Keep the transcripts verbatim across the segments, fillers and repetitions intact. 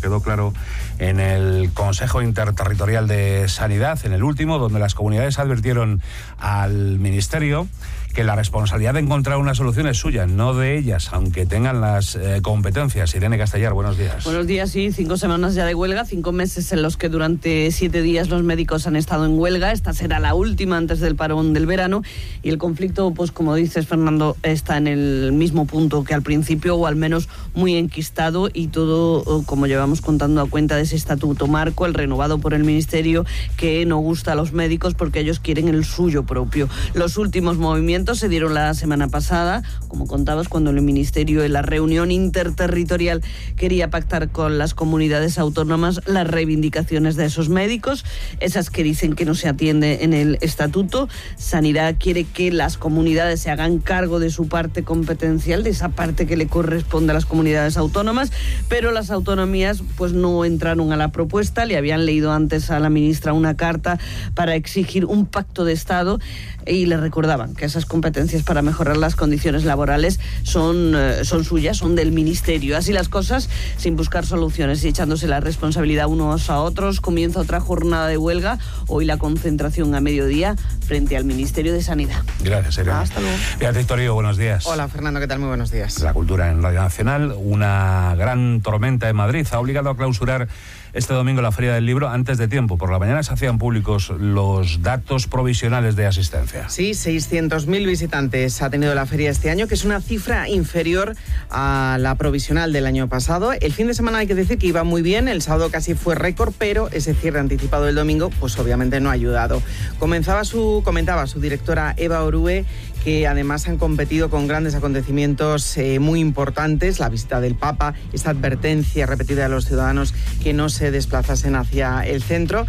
quedó claro en el Consejo Interterritorial de Sanidad, en el último, donde las comunidades advirtieron al Ministerio que la responsabilidad de encontrar una solución es suya, no de ellas, aunque tengan las eh, competencias. Irene Castellar, buenos días. Buenos días, sí, cinco semanas ya de huelga, cinco meses en los que durante siete días los médicos han estado en huelga. Esta será la última antes del parón del verano y el conflicto, pues como dices, Fernando, está en el mismo punto que al principio, o al menos muy enquistado, y todo, como llevamos contando, a cuenta de ese estatuto marco, el renovado por el Ministerio, que no gusta a los médicos porque ellos quieren el suyo propio. Los últimos movimientos se dieron la semana pasada, como contabas, cuando el Ministerio en la reunión interterritorial quería pactar con las comunidades autónomas las reivindicaciones de esos médicos, esas que dicen que no se atiende en el estatuto. Sanidad quiere que las comunidades se hagan cargo de su parte competencial, de esa parte que le corresponde a las comunidades autónomas, pero las autonomías pues no entraron a la propuesta. Le habían leído antes a la ministra una carta para exigir un pacto de Estado y le recordaban que esas competencias para mejorar las condiciones laborales son, eh, son suyas, son del Ministerio. Así las cosas, sin buscar soluciones y echándose la responsabilidad unos a otros, comienza otra jornada de huelga. Hoy la concentración a mediodía frente al Ministerio de Sanidad. Gracias, Irene. Hasta luego. Beatriz Torío, buenos días. Hola, Fernando, ¿qué tal? Muy buenos días. La cultura en Radio Nacional, una gran tormenta en Madrid ha obligado a clausurar este domingo la Feria del Libro antes de tiempo. Por la mañana se hacían públicos los datos provisionales de asistencia. Sí, seiscientos mil visitantes ha tenido la feria este año, que es una cifra inferior a la provisional del año pasado. El fin de semana hay que decir que iba muy bien, el sábado casi fue récord, pero ese cierre anticipado del domingo pues obviamente no ha ayudado. Comenzaba su, comentaba su directora Eva Orue que además han competido con grandes acontecimientos eh, muy importantes, la visita del Papa, esa advertencia repetida a los ciudadanos que no se desplazasen hacia el centro.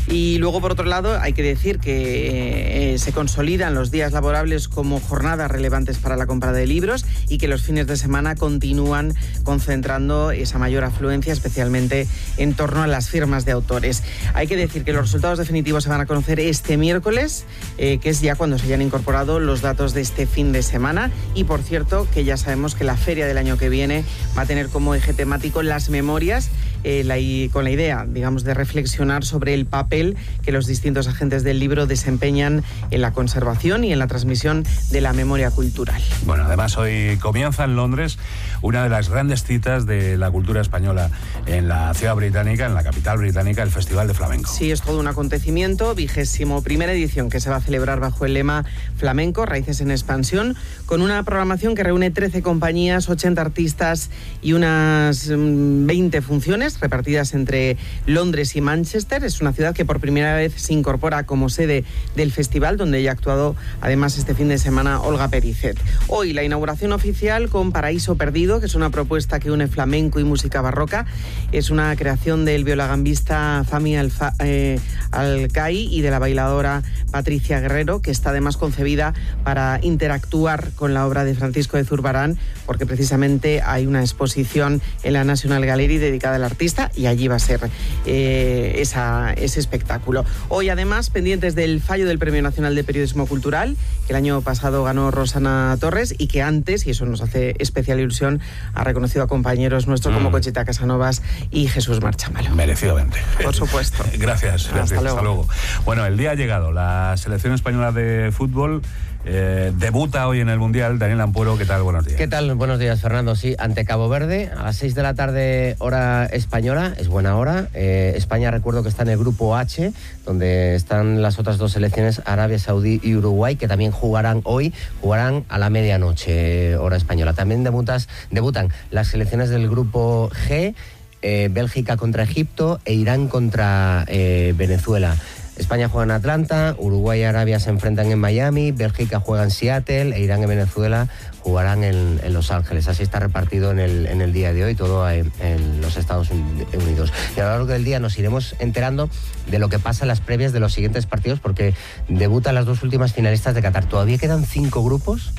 Y luego, por otro lado, hay que decir que eh, se consolidan los días laborables como jornadas relevantes para la compra de libros y que los fines de semana continúan concentrando esa mayor afluencia, especialmente en torno a las firmas de autores. Hay que decir que los resultados definitivos se van a conocer este miércoles, eh, que es ya cuando se hayan incorporado los datos de este fin de semana. Y por cierto, que ya sabemos que la feria del año que viene va a tener como eje temático las memorias, eh, la, y con la idea, digamos, de reflexionar sobre el papel que los distintos agentes del libro desempeñan en la conservación y en la transmisión de la memoria cultural. Bueno, además hoy comienza en Londres una de las grandes citas de la cultura española en la ciudad británica, en la capital británica, el Festival de Flamenco. Sí, es todo un acontecimiento, vigésimo primera edición, que se va a celebrar bajo el lema Flamenco, Raíces en Expansión, con una programación que reúne trece compañías, ochenta artistas y unas veinte funciones repartidas entre Londres y Manchester. Es una ciudad que por primera vez se incorpora como sede del festival, donde ya ha actuado además este fin de semana Olga Pericet. Hoy la inauguración oficial con Paraíso Perdido, que es una propuesta que une flamenco y música barroca. Es una creación del violagambista Fami Alfa, eh, Alcai y de la bailadora Patricia Guerrero, que está además concebida para interactuar con la obra de Francisco de Zurbarán, porque precisamente hay una exposición en la National Gallery dedicada al artista y allí va a ser eh, esa, ese espectáculo. Hoy además pendientes del fallo del Premio Nacional de Periodismo Cultural, que el año pasado ganó Rosana Torres y que antes, y eso nos hace especial ilusión, ha reconocido a compañeros nuestros mm. como Conchita Casanovas y Jesús Marchamalo. Merecidamente. Por supuesto. Gracias. Hasta, Hasta, luego. Hasta luego. Bueno, el día ha llegado. La selección española de fútbol Eh, debuta hoy en el Mundial. Daniel Ampuero, ¿qué tal? Buenos días. ¿Qué tal? Buenos días, Fernando. Sí, ante Cabo Verde, a las seis de la tarde, hora española, es buena hora. Eh, España, recuerdo que está en el grupo H, donde están las otras dos selecciones, Arabia Saudí y Uruguay, que también jugarán hoy, jugarán a la medianoche, hora española. También debutas, debutan las selecciones del grupo G, eh, Bélgica contra Egipto e Irán contra eh, Venezuela. España juega en Atlanta, Uruguay y Arabia se enfrentan en Miami, Bélgica juega en Seattle e Irán y Venezuela jugarán en, en Los Ángeles. Así está repartido en el, en el día de hoy, todo en, en los Estados Unidos. Y a lo largo del día nos iremos enterando de lo que pasa en las previas de los siguientes partidos, porque debutan las dos últimas finalistas de Qatar. Todavía quedan cinco grupos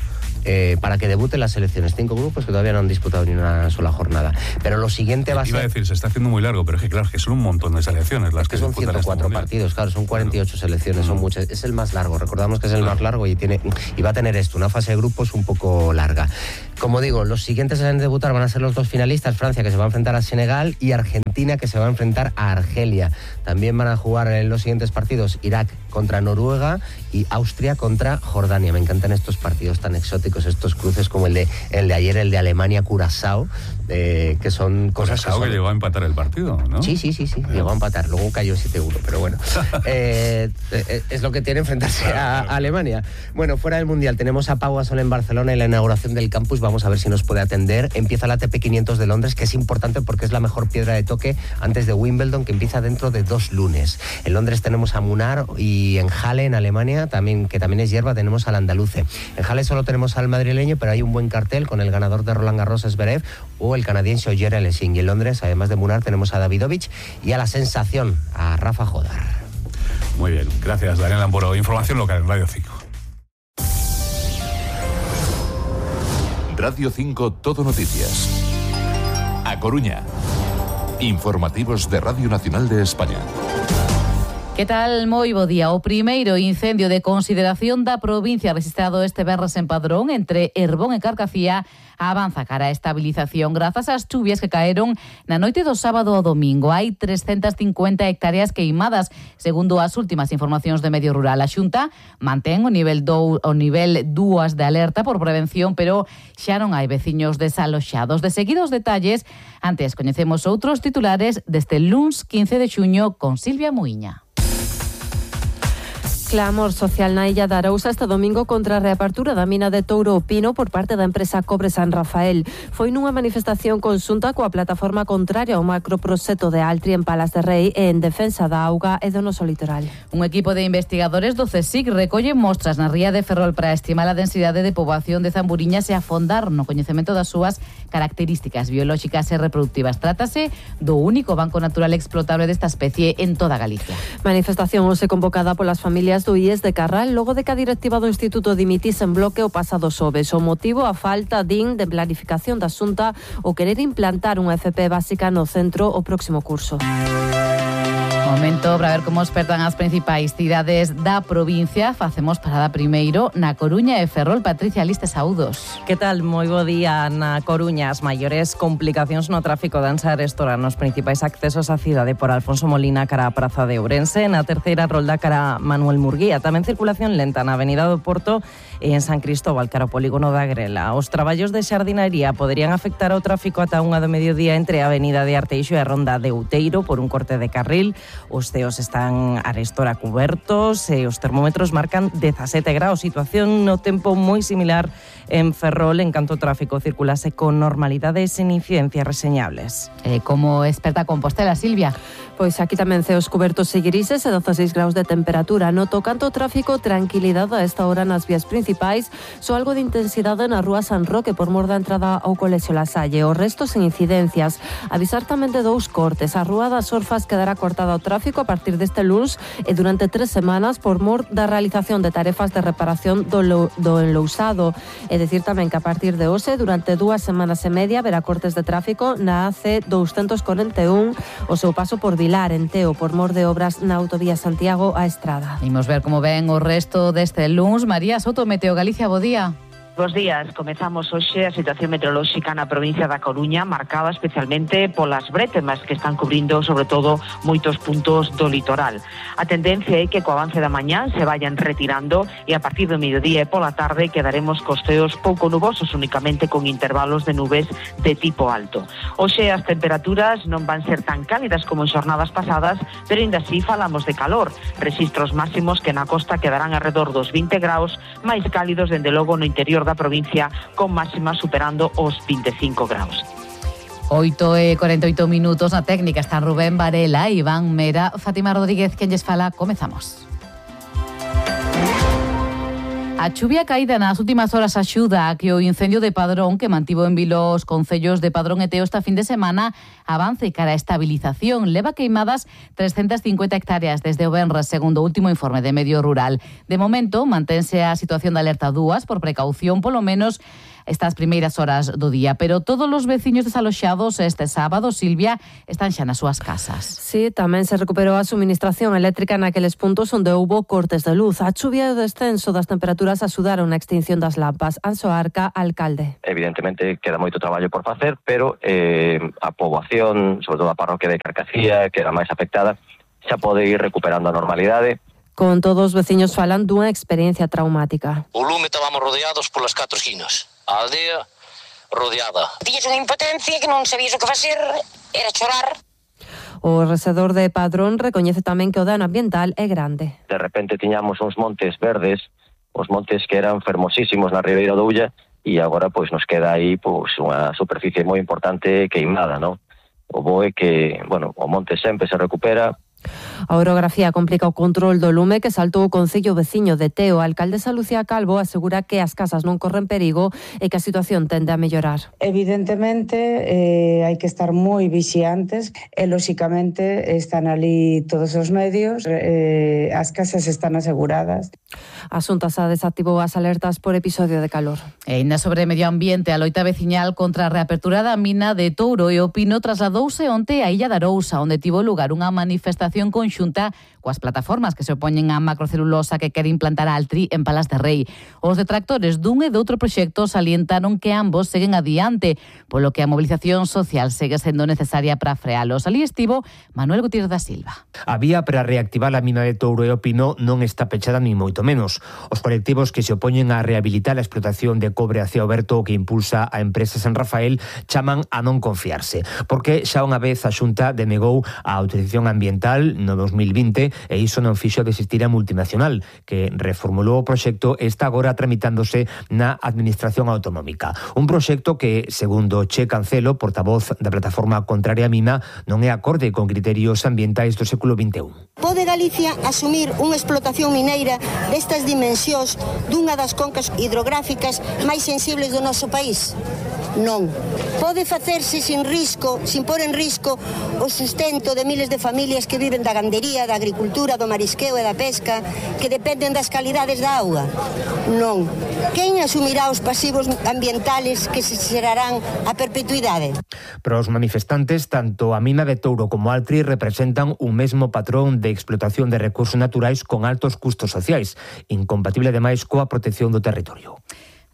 Eh, para que debuten las selecciones. Cinco grupos que todavía no han disputado ni una sola jornada. Pero lo siguiente va a ser... Iba a decir, se está haciendo muy largo, pero es que claro, es que son un montón de selecciones las es que, que son disputan ciento cuatro este partidos, claro, son cuarenta y ocho claro. selecciones, son Mm. muchas. Es el más largo, recordamos que es el claro. más largo y tiene y va a tener esto, una fase de grupos un poco larga. Como digo, los siguientes en debutar van a ser los dos finalistas, Francia, que se va a enfrentar a Senegal, y Argentina, Argentina, que se va a enfrentar a Argelia. También van a jugar en los siguientes partidos Irak contra Noruega y Austria contra Jordania. Me encantan estos partidos tan exóticos, estos cruces como el de, el de ayer, el de Alemania-Curazao, eh, que son cosas Curazao que, son... que llegó a empatar el partido, ¿no? Sí, sí, sí, sí, llegó a empatar, luego cayó siete uno, pero bueno, eh, es lo que tiene enfrentarse a, a Alemania. Bueno, fuera del Mundial tenemos a Pau Gasol en Barcelona y la inauguración del campus, vamos a ver si nos puede atender. Empieza la A T P quinientos de Londres, que es importante porque es la mejor piedra de toque antes de Wimbledon, que empieza dentro de dos lunes. En Londres tenemos a Munar y en Halle, en Alemania, también, que también es hierba, tenemos al andaluce. En Halle solo tenemos al madrileño, pero hay un buen cartel con el ganador de Roland Garros, Zverev, o el canadiense Ogier Alessin. Y en Londres, además de Munar, tenemos a Davidovich y a la sensación, a Rafa Jodar. Muy bien, gracias Daniel Amboro. Información local en Radio cinco. Radio cinco Todo Noticias. A Coruña. Informativos de Radio Nacional de España. Que tal? Moi bo día. O primeiro incendio de consideración da provincia registrado este venres en Padrón, entre Herbón e Carcacía, avanza cara a estabilización grazas ás chuvias que caeron na noite do sábado ao domingo. Hai trescentas cincuenta hectáreas queimadas, segundo as últimas informacións de Medio Rural. A Xunta mantén o nivel do, o nivel dúas de alerta por prevención, pero xa non hai veciños desaloxados. De seguidos detalles, antes coñecemos outros titulares deste luns quince de xuño con Silvia Muiña. Clamor social na illa da Arousa este domingo contra a reapertura da mina de Touro o Pino por parte da empresa Cobre San Rafael. Foi nunha manifestación conxunta coa plataforma contraria ao macroproxecto de Altri en Palas de Rei e en defensa da auga e do noso litoral. Un equipo de investigadores do CSIC recolle mostras na ría de Ferrol para estimar a densidade de poboación de zamburiñas e afondar no coñecemento das súas características biolóxicas e reproductivas. Trátase do único banco natural explotable desta especie en toda Galicia. Manifestación hoxe convocada polas familias do I E S de Carral logo de que a directiva do Instituto dimitise en bloque o pasado xoves. O motivo, a falta, din, de planificación da Xunta ou querer implantar unha F P básica no centro o próximo curso. Momento para ver como espertan as principais cidades da provincia. Facemos parada primeiro na Coruña e Ferrol. Patricia Liste, saúdos. Que tal? Moi bo día. Na Coruña, as maiores complicacións no tráfico danse a restaurar nos principais accesos á cidade por Alfonso Molina cara a Praza de Ourense, na terceira rolda cara a Manuel Murguía. Tamén circulación lenta na Avenida do Porto e en San Cristóbal cara ao polígono da Grela. Os traballos de xardinaría poderían afectar ao tráfico ata unha do mediodía entre a Avenida de Arteixo e a Ronda de Outeiro por un corte de carril. Os ceos están arestora cubertos e os termómetros marcan dezasete graus. Situación no tempo moi similar en Ferrol, en canto o tráfico circulase con normalidade e sen incidencias reseñables. Eh, como experta Compostela, Silvia? Pois aquí tamén ceos cubertos e grises e dezaseis graus de temperatura. No tocante ao tráfico, tranquilidade a esta hora nas vías principais, só algo de intensidade na rúa San Roque por mor da entrada ao Colexio La Salle. O resto sen incidencias. Avisar tamén de dous cortes. A rúa das Orfas quedará cortada ao tráfico a partir deste luns e durante tres semanas por mor da realización de tarefas de reparación do, lo, do enlousado. É dicir tamén que a partir de hoxe, durante dúas semanas e media, verá cortes de tráfico na A C doscientos cuarenta y uno o seu paso por Vilar, en Teo, por mor de obras na autovía Santiago a Estrada. Imos ver como ven o resto deste luns. María Soto, Meteo Galicia, bo día. Bos días, comezamos hoxe a situación meteorolóxica na provincia da Coruña, marcada especialmente polas brétemas que están cubrindo sobre todo moitos puntos do litoral. A tendencia é que co avance da mañá se vayan retirando e a partir do mediodía e pola tarde quedaremos costeos pouco nubosos, únicamente con intervalos de nubes de tipo alto. Hoxe as temperaturas non van ser tan cálidas como en xornadas pasadas, pero ainda así falamos de calor. Registros máximos que na costa quedarán alrededor dos vinte graus, máis cálidos dende logo no interior da provincia, con máximas superando os vinte e cinco graus. oito e cuarenta e oito minutos na técnica están Rubén Varela, Iván Mera, Fátima Rodríguez, quen lles fala. Comezamos. A chuvia caída nas últimas horas axuda a que o incendio de Padrón, que mantivo en vilo os concellos de Padrón e Teo esta fin de semana, avance cara a estabilización. Leva queimadas trescentas cincuenta hectáreas desde o venres, segundo o último informe de Medio Rural. De momento, mantense a situación de alerta dúas por precaución, polo menos estas primeiras horas do día. Pero todos os veciños desaloxados este sábado, Silvia, están xa nas súas casas. Sí, tamén se recuperou a suministración eléctrica naqueles puntos onde houbo cortes de luz. A chuvia e o descenso das temperaturas axudaron na extinción das lampas. Anxo Arca, alcalde. Evidentemente queda moito traballo por facer, pero eh, a poboación, sobre todo a parroquia de Carcacía, que era máis afectada, xa pode ir recuperando a normalidade. Con todos os veciños falan dunha experiencia traumática. O lume estábamos rodeados polas catro esquinas. A aldea rodeada. Tiñes unha impotencia que non sabías o que facer, era chorar. O resedor de Padrón recoñece tamén que o dano ambiental é grande. De repente tiñamos uns montes verdes, os montes que eran fermosísimos na Ribeira do Ulla, e agora pois nos queda aí pois unha superficie moi importante queimada, non? O bo é que, bueno, o monte sempre se recupera. A orografía complica o control do lume que saltou o concello veciño de Teo. A alcaldesa Lucía Calvo asegura que as casas non corren perigo e que a situación tende a mellorar. Evidentemente eh, hai que estar moi vixiantes e lóxicamente están ali todos os medios, eh, as casas están aseguradas. A Xunta xa desactivou as alertas por episodio de calor. E ainda sobre medio ambiente, a loita veciñal contra a reapertura da mina de Touro e o Pino trasladouse onte a Illa de Arousa, onde tivo lugar unha manifestación conxunta coas plataformas que se opoñen á macrocelulosa que quere implantar a Altri en Palas de Rei. Os detractores dun e de outro proxecto salientaron que ambos seguen adiante, polo que a movilización social segue sendo necesaria para frealos. Ali estivo Manuel Gutiérrez da Silva. A vía para reactivar a mina de Touro e o Pino non está pechada ni moito menos. Os colectivos que se opoñen a rehabilitar a explotación de cobre a ceo aberto que impulsa a empresa San Rafael chaman a non confiarse, porque xa unha vez a Xunta denegou a autorización ambiental no dos mil vinte e iso non fixo desistir a multinacional, que reformulou o proxecto e está agora tramitándose na Administración Autonómica. Un proxecto que, segundo Che Cancelo, portavoz da plataforma contraria á mina, non é acorde con criterios ambientais do século vinte e un. Pode Galicia asumir unha explotación mineira destas dimensións dunha das concas hidrográficas máis sensibles do noso país? Non. Pode facerse sin risco, sin pôr en risco o sustento de miles de familias que viven da gandería, da agricultura, do marisqueo e da pesca, que dependen das calidades da auga? Non. Quen asumirá os pasivos ambientales que se xerarán a perpetuidade? Para os manifestantes, tanto a mina de Touro como Altri representan un mesmo patrón de explotación de recursos naturais con altos custos sociais, incompatible ademais coa protección do territorio.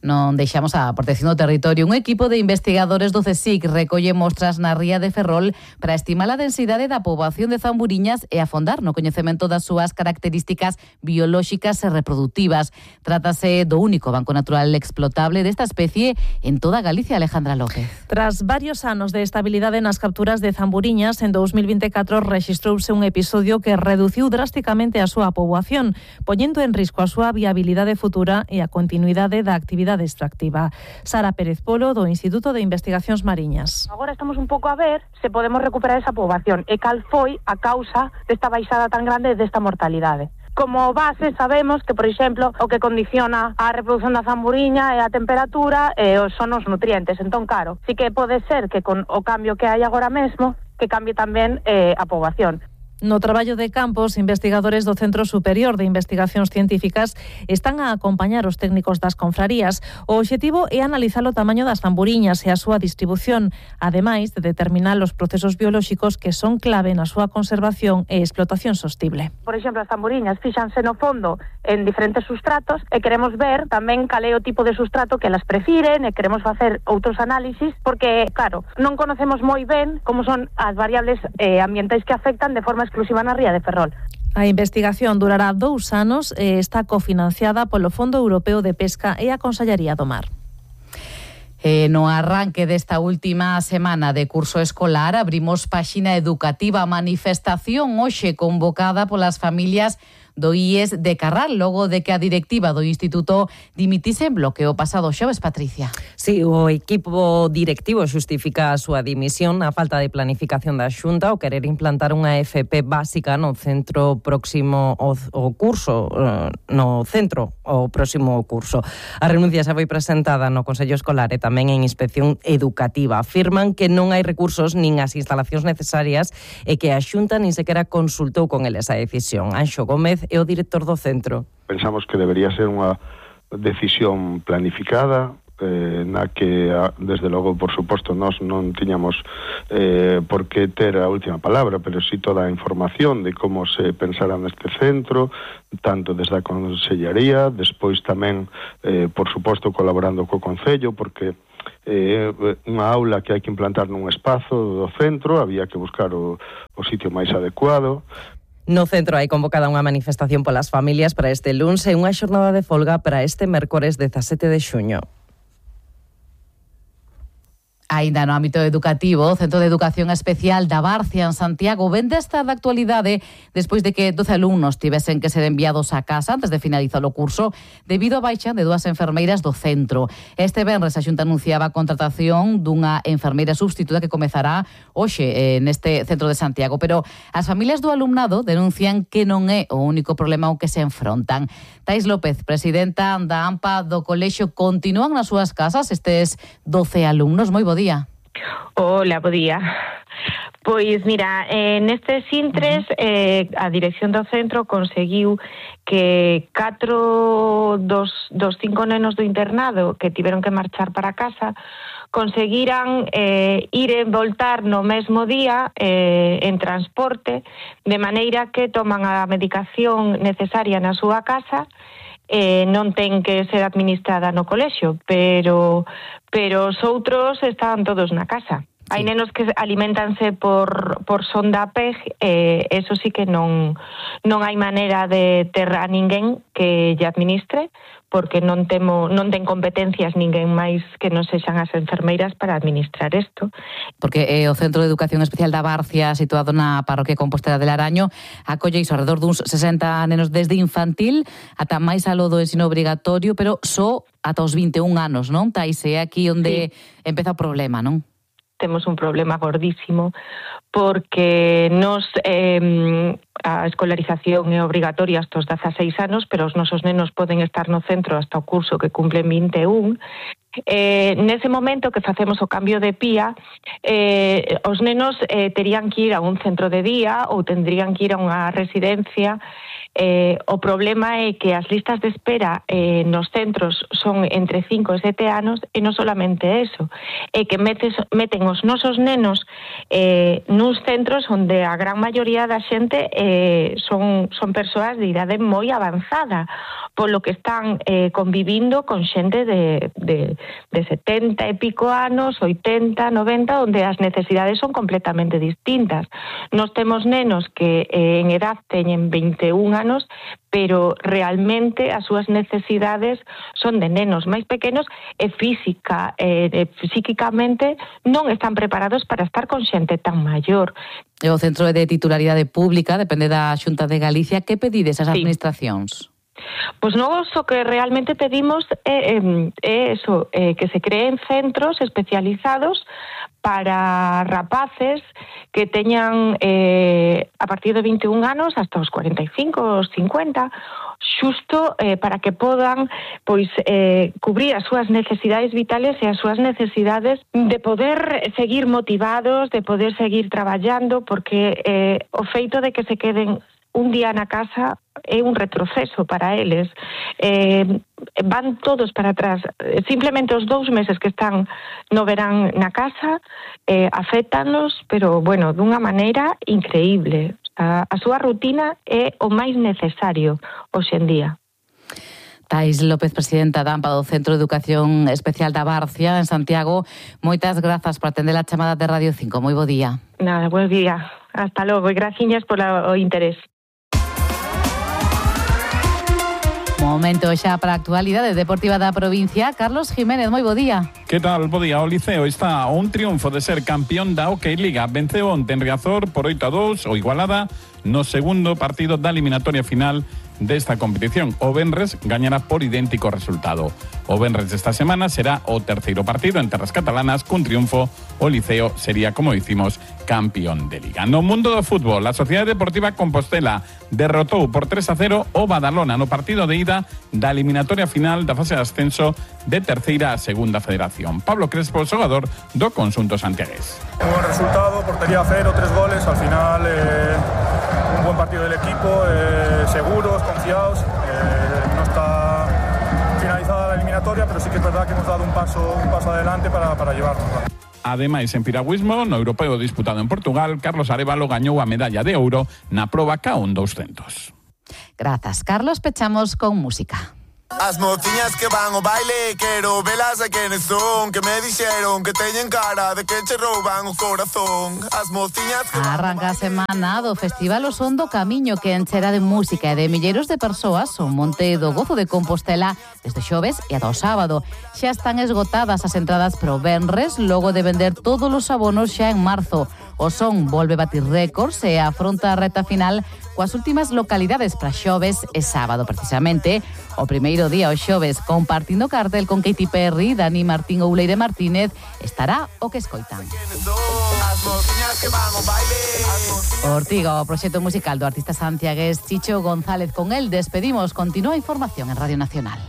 Non deixamos a protección do territorio. Un equipo de investigadores do CSIC recolle mostras na ría de Ferrol para estimar a densidade da poboación de zamburiñas e afondar no coñecemento das súas características biolóxicas e reproductivas. Trátase do único banco natural explotable desta especie en toda Galicia, Alejandra López. Tras varios anos de estabilidade nas capturas de zamburiñas, en dos mil vinte e catro rexistrouse un episodio que reduciu drásticamente a súa poboación, poñendo en risco a súa viabilidade futura e a continuidade da actividade extractiva. Sara Pérez Polo, do Instituto de Investigacións Mariñas. Agora estamos un pouco a ver se podemos recuperar esa poboación e cal foi a causa desta baixada tan grande desta mortalidade. Como base sabemos que, por exemplo, o que condiciona a reproducción da zamburiña é a temperatura e son os nutrientes. Entón, claro, sí que pode ser que con o cambio que hai agora mesmo, que cambie tamén eh, a poboación. No traballo de campo, os investigadores do Centro Superior de Investigacións Científicas están a acompañar os técnicos das confrarías. O obxectivo é analizar o tamaño das zamburiñas e a súa distribución, ademais de determinar os procesos biolóxicos que son clave na súa conservación e explotación sostible. Por exemplo, as zamburiñas fíxanse no fondo en diferentes sustratos e queremos ver tamén cal é o tipo de sustrato que elas prefiren e queremos facer outros análisis porque, claro, non conocemos moi ben como son as variables eh, ambientais que afectan de forma exclusiva na ría de Ferrol. A investigación durará dous anos e está cofinanciada polo Fondo Europeo de Pesca e a Consellería do Mar. Eh, no arranque desta última semana de curso escolar abrimos páxina educativa, manifestación hoxe convocada polas familias do I E S de Carral, logo de que a directiva do Instituto dimitise en bloque o pasado xoves, Patricia. Sí, o equipo directivo xustifica a súa dimisión a falta de planificación da Xunta o querer implantar unha F P básica no centro próximo ao, ao curso, no centro o próximo curso. A renuncia xa foi presentada no Consello Escolar e tamén en Inspección Educativa. Afirman que non hai recursos nin as instalacións necesarias e que a Xunta nin sequera consultou con eles a decisión. Anxo Gómez é o director do centro. Pensamos que debería ser unha decisión planificada, eh, na que, desde logo, por suposto, nós non tiñamos eh, por que ter a última palabra, pero sí toda a información de como se pensara neste centro, tanto desde a Consellería, despois tamén, eh, por suposto, colaborando co Concello, porque eh, unha aula que hai que implantar nun espazo do centro, había que buscar o, o sitio máis adecuado. No centro hai convocada unha manifestación polas familias para este luns e unha xornada de folga para este mércores dezasete de xuño. Ainda no ámbito educativo, o Centro de Educación Especial da Barcia en Santiago vende esta de actualidade despois de que doce alumnos tivesen que ser enviados a casa antes de finalizar o curso debido á baixa de dúas enfermeiras do centro. Este venres a Xunta anunciaba a contratación dunha enfermeira substituta que comezará hoxe neste centro de Santiago, pero as familias do alumnado denuncian que non é o único problema ao que se enfrontan. Tais López, presidenta da AMPA do colexio, continúan nas súas casas estes doce alumnos. Moi bo día. Hola, bo día. Pois mira, eh, nestes intres eh, a dirección do centro conseguiu que catro dos, dos cinco nenos do internado que tiveron que marchar para casa conseguiran eh, ir e voltar no mesmo día eh, en transporte, de maneira que toman a medicación necesaria na súa casa. Eh, non ten que ser administrada no colexio, pero pero os outros están todos na casa. Sí. Hai nenos que alimentanse por, por sonda P E G, eh, eso sí que non, non hai maneira de ter a ninguén que lle administre, porque non temo, non ten competencias ninguén máis que non sexan as enfermeiras para administrar isto. Porque eh, o Centro de Educación Especial da Barcia, situado na parroquia Compostela de Laraño, acolle iso alrededor duns sesenta nenos desde infantil ata máis aló do ensino obrigatorio, pero só ata os vinte e un anos, non? Tais, é aquí onde sí. empeza o problema, non? Temos un problema gordísimo porque nos eh, a escolarización é obrigatoria hasta os dezaseis anos, pero os nosos nenos poden estar no centro hasta o curso que cumplen vinte e un. Eh, nese momento que facemos o cambio de P I A, eh, os nenos eh, terían que ir a un centro de día ou tendrían que ir a unha residencia. Eh, o problema é que as listas de espera eh, nos centros son entre cinco e sete anos e non solamente eso, é que metes, meten os nosos nenos eh, nuns centros onde a gran maioría da xente eh, son, son persoas de idade moi avanzada, polo que están eh, convivindo con xente de, de, de setenta e pico anos, oitenta, noventa, onde as necesidades son completamente distintas. Nos temos nenos que eh, en edad teñen vinte e un anos, pero realmente as súas necesidades son de nenos máis pequenos e física, e, e psíquicamente non están preparados para estar con xente tan maior. E o Centro de Titularidade Pública depende da Xunta de Galicia. Que pedides ás administracións? Pois nós o que realmente pedimos é, é eso, é que se creen centros especializados para rapaces que teñan eh, a partir de vinte e un anos hasta os cuarenta e cinco, os cincuenta, xusto eh, para que podan pois eh, cubrir as súas necesidades vitales e as súas necesidades de poder seguir motivados, de poder seguir traballando, porque eh, o feito de que se queden un día na casa é un retroceso para eles. Eh, van todos para atrás. Simplemente os dous meses que están no verán na casa eh, afétanos, pero, bueno, dunha maneira increíble. A, a súa rutina é o máis necesario hoxe en día. Tais López, presidenta da AMPA do Centro de Educación Especial da Barcia, en Santiago, moitas grazas por atender a chamada de Radio cinco. Moi bo día. Nada, buen día. Hasta logo e graciñas polo interés. Momento xa para a actualidade deportiva da provincia. Carlos Jiménez, moi bo día. Que tal? Bo día. O Liceo está a un triunfo de ser campeón da Hockey Liga. Venceu onte en Riazor por oito a dous o Igualada no segundo partido da eliminatoria final desta competición. O venres gañará por idéntico resultado. O venres desta semana será o terceiro partido en terras catalanas. Cun triunfo, o Liceo sería, como dicimos, campeón de Liga. No mundo do fútbol, a Sociedade Deportiva Compostela derrotou por tres a cero o Badalona no partido de ida da eliminatoria final da fase de ascenso de terceira a segunda federación. Pablo Crespo, xogador do conxunto santiagués. Un buen resultado, portería cero, tres goles, al final eh, un buen partido del equipo, eh, seguros, confiados, eh, no está finalizada la eliminatoria eliminatoria, pero sí que es verdad que hemos dado un paso, un paso adelante para, para llevarnos. Ademais, en piragüismo, no europeo disputado en Portugal, Carlos Arévalo gañou a medalla de ouro na proba K un doscientos. Grazas, Carlos. Pechamos con música. As mociñas que van ao baile, quero velas a quenes son, que me dixeron que teñen cara de que che rouban o corazón. As mociñas que Arranca a semana do Festival O Son do Camiño, que enchera de música e de milleiros de persoas o Monte do Gozo de Compostela desde xoves e ata o sábado. Xa están esgotadas as entradas pro venres, logo de vender todos os abonos xa en marzo. O Son volve batir récords e afronta a reta final coas últimas localidades para xoves e sábado. Precisamente, o primeiro día o xoves, compartindo cartel con Katy Perry, Dani Martín ou Leire Martínez, estará o que escoitan. Ortiga, o proxecto musical do artista santiagués Chicho González. Con el despedimos. Continúa a información en Radio Nacional.